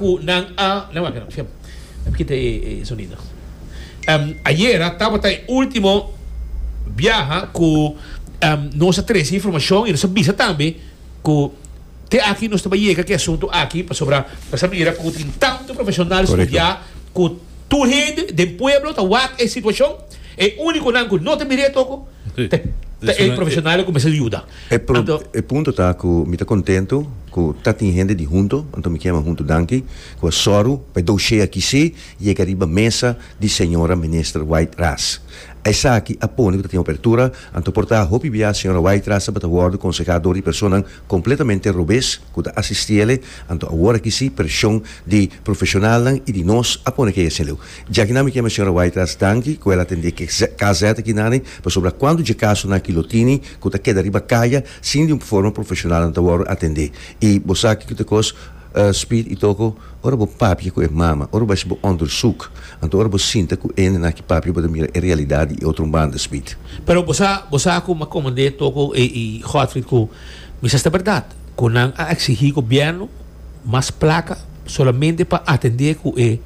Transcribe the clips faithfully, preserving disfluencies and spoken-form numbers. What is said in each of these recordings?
Ku nan a nan wak no mi kita e e sonido um, ayera tabata e ultimo biaha ku um, nos a trese informashon i nos a bisa tambe ku te aki nos ta bai yega ku e asuntu aki pasobra nos a mira ku tin tantu profeshonal studiá ku tur hende den pueblo ta wak e situashon. E únikonan ku no ta mir'é toko ta ta e profeshonalnan ku mester yuda. E pro e punto ta ku mi ta kontentu ku ta tin hende di Hunto, anto mi ke yama Hunto danki, ku a sòru pa e doshé aki si yega riba mesa di señora Minister White Ras. Esaki a pone ku ta tin apertura, anto por ta hopi bia señora White Ras tabata wòrdu konsehá dor di personanan kompletamente robes ku ta asistí ele, anto awor aki si preshon di profeshonalnan i di nos a pone ke e leu. Djakinan mi ke yama señora White Ras danki ku el atendé ke K Z akinani pasobra kuantu dje kasonan aki lo tini ku ta keda riba kaya sin di un forma profeshonal nan ta wòrdu atendé. I bo sa kiko ta kos, Speed i Toko, ora bo papia ku e mama, ora bo hasi bo onderzoek, anto ora bo sinta ku e hendenan aki papia bo ta mira e realidat di e otro banda, Speed. Pero bo sa, bo sa ku mi a komand'é Toko i Godfried ku mi sa sta bèrdat ku nan a eksigí gobièrnu mas plaka solamente pa atendé ku e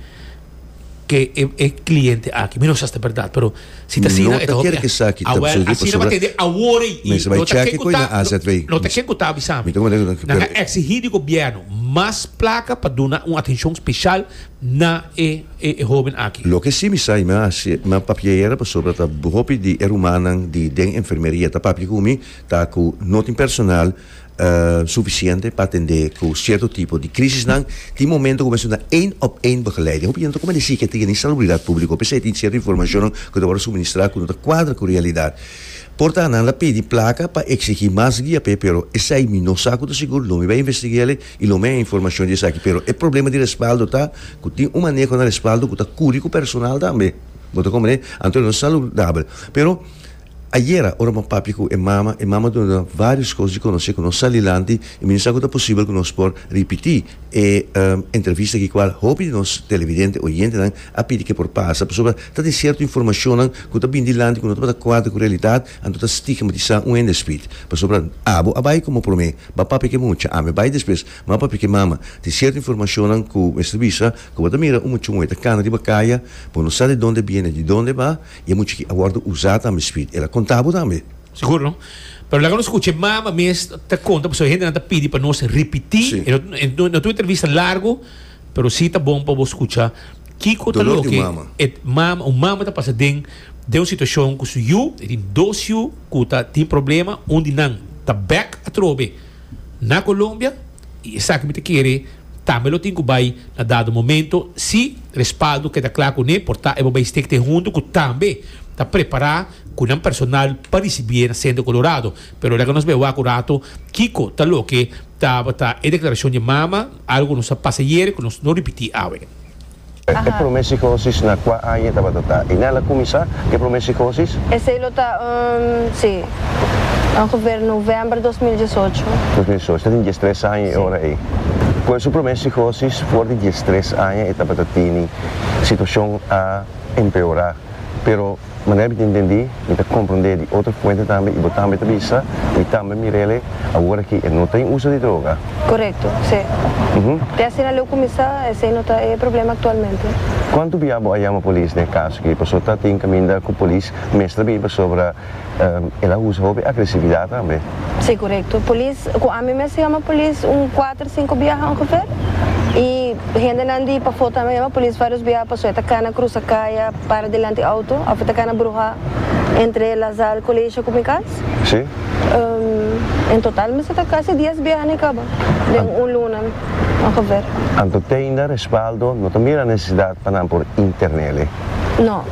ke e e cliente aki. Mi no sa si ta berdad, pero si ta No asina e ta ta hopi kere ke esaki ta Awel, sucede asina pasobra bo tende awor ei i mester bai no ta cheke ken ku koe ta na A Z V. no ta ken ku ta bisa Mi mi. ta komprende ku Nan pero a exigi di gobierno mas placa pa duna un atencion special na e e e hoben aki. Loke si mi sa i mi a hasi mi a papia ayera pasobra ta hopi di e rumannan di den enfermeria ta papia ku mi ta ku no tin personal Sufisiente pa atendé ku sierto tipo di krisisnan. Tin momento ku mester duna één op één begeleiding. Hopi hende ta kome di sikiatria ni salubridat públiko. P'esei tin sierto informashonnan ku ta wòrdu suministrá ku no ta kuadra ku realidat. Por ta nan la pidi plaka pa eksigí mas guia p'e, pero esei mi no sa ku ta sigur. Lo mi bai investig'é i lo mi haña informashon di esaki. Pero e problema di respaldo ta ku tin un maneho na respaldo ku ta kuri ku personal tambe. Bo ta komprendé? Anto no saludabel. Pero. Ayera ora bo a papia ku e mama, e mama duna vários kos di konosé ku nos sali lanti i mi no sa ku ta posibel ku nos por ripití e entrevista aki kual hopi di nos televidente, oyentenan a pidi ke por pasa pasobra ta tin sierto informashonnan ku ta bini dilanti ku no tabata kuadra ku realidat anto ta stigmatisá un hende spit pasobra abo a bai komo promé bo a papia ku e mucha ami a bai despues mi a papia ku e mama tin sierto informashonnan ku mester bisa ku bo ta mira un mucha muhé ta kana riba kaya bo no sa di donde biene di donde ba. I e mucha ki a wòrdu usá tambe, Speed. El a konta bo tambe. Sigur no. Pero laga nos skucha e mama mes ta konta pasobra e hendenan ta pidi pa nos ripití. Sí. E no no ta un entrevista largu, pero sí ta bon pa bo skucha kiko ta Dolor di un loke mama. e mama, un mama ta pasa den den un situashon ku su yu, e tin dos yu ku ta tin problema, un di nan ta bèk atrobe na Colombia i esaki mi ta kere tambe lo tin ku bai na dado momento si respaldo keda kla kuné por ta e bo bai stek te huntu ku tambe ta prepará ku nan personal pa risibié na Centro Colorado. Pero laga nos bai wak un rato kiko ta loke tabata e deklarashon di mama, algu ku nos a pasa ayer ku nos no ripití awe. E promé psicosis na kua aña tabata ta? I nan a kuminsá ku e promé psicosis? Esei lo ta un, sí, ongeveer novèmber dos mil diesocho. Dos mil diesocho, ta tin diestres aña e ora ei. Ku e su promé psicosis for di diestres aña e tabata tini situashon a empeorá, pero. Manera mi ta entendí, mi ta komprondé di otro fuente tambe i bo tambe ta bisa, mi tambe mir'el awor aki e no ta den uso di droga. Korekto, sí. Te asina leu kuminsá, esei no ta e problema aktualmente. Kuantu bia bo a yama polis den e kaso aki? Pasobra ta tin kaminda ku polis mester bini pasobra el a usa hopi agresividat tambe. Sí, korekto. Polis, ku ami mes a yama polis un kuater, sinku biaha ongeveer. I hendenan di pafó tambe a yama polis vários biaha pasobra e ta kana krusa kaya. Para dilanti auto of e ta cana bruha entre La Salle Colegio cu mi cas. Sí. En total mester ta casi dies biaha ni caba den un luna ongeveer. Anto te ainda respaldo no ta mira necesidad pa nan por internele? No.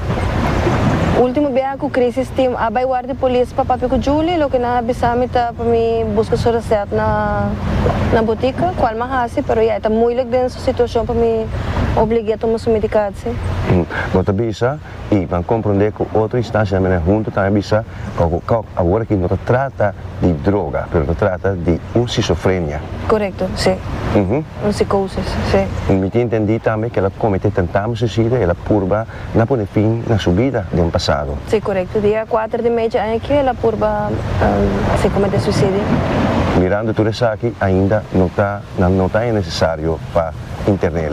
Ultimo biaha cu crisis team a bay warda polis pa papia cu Julie, loke nan a bisa mi ta pa mi busca su recet na na botica, cual mi a haci, pero ya e ta moeilijk den su situacion pa mi obligue a tuma su medicatie. Bo ta bisa i ban komprondé ku otro instansianan menen huntu tambe bisa ku awor aki no ta trata di droga pero ta trata di un schizofrenia. Korekto, sí. Un psikosis, sí. Mi tin entendí tambe ku el a kometé tentamo suisidio, el a purba na pone fin na su bida den pasado. Sí, korekto. Dia kuater di mei dje aña aki el a purba, sí, kometé suisidio. Mirando tur esaki ainda no ta, nan no ta e nesesario pa Intern'é.